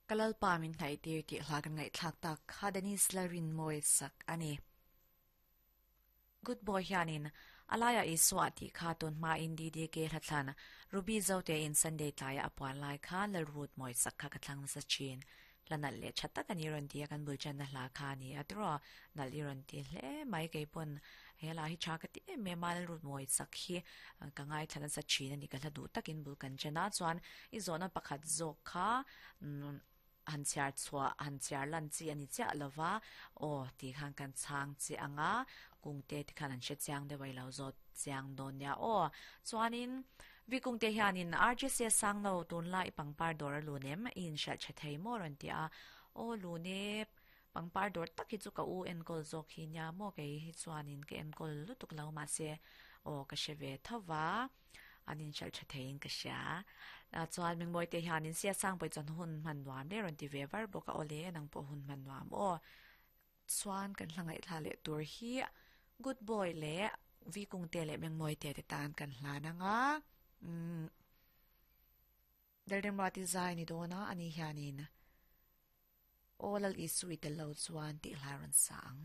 Ka Lalpa min hnaihtir tih hla kan ngaihthlak tak kha Dennis Lalrinmawii sak a ni. Good boy hianin a laiah Isua tih kha tun hmain DDK hlathlan Ruby Zotein Sunday tlaia a puan lai kha Lalrutmawii sak kha ka thlang nasa thin. Hla nalh leh tha tak a ni rawn ti a, kan bul channa hla kha a ni a tiraw nalh i rawn ti hle mai keipawn he hla hi tha ka ti em em a Lalrutmawii sak hi ka ngaithla nasa thin a ni ka hla duh takin bul kan chen a chuan i zawhna pakhat zawk kha han chhiar chhuah han chhiar lan chi a ni chiah lova aw tih khan kan chhang che ang a kungte te khan an hre chiang deuh a i lo zawt chiang dawn nia aw chuanin Vikungte hianin RGC Sangno tunlai pangpar dawr a lun em? I inhriat tha thei maw rawn ti a. Aw lun e, pangpar dawr tak hi chu ka u enkawl zawk hi nia maw kei hi chuanin ka enkawl lutuk lo mahse aw ka hre ve tho va, an inhriat tha theiin ka hria. Chuan Mingmawite hianin Sia Sangpui chuan hun hman nuam le rawn ti ve var bawk a, aw le nang pawh hun hman nuam aw. Chuan kan hla ngaihthla leh tur hi Good Boy leh Vi Kungte leh Mengmawite te tan kan hlan ang a. Umm Lalremruati zai ni dawn a, ani hianin Aw Lal Isu i tel lo chuan tih hla rawn sa ang.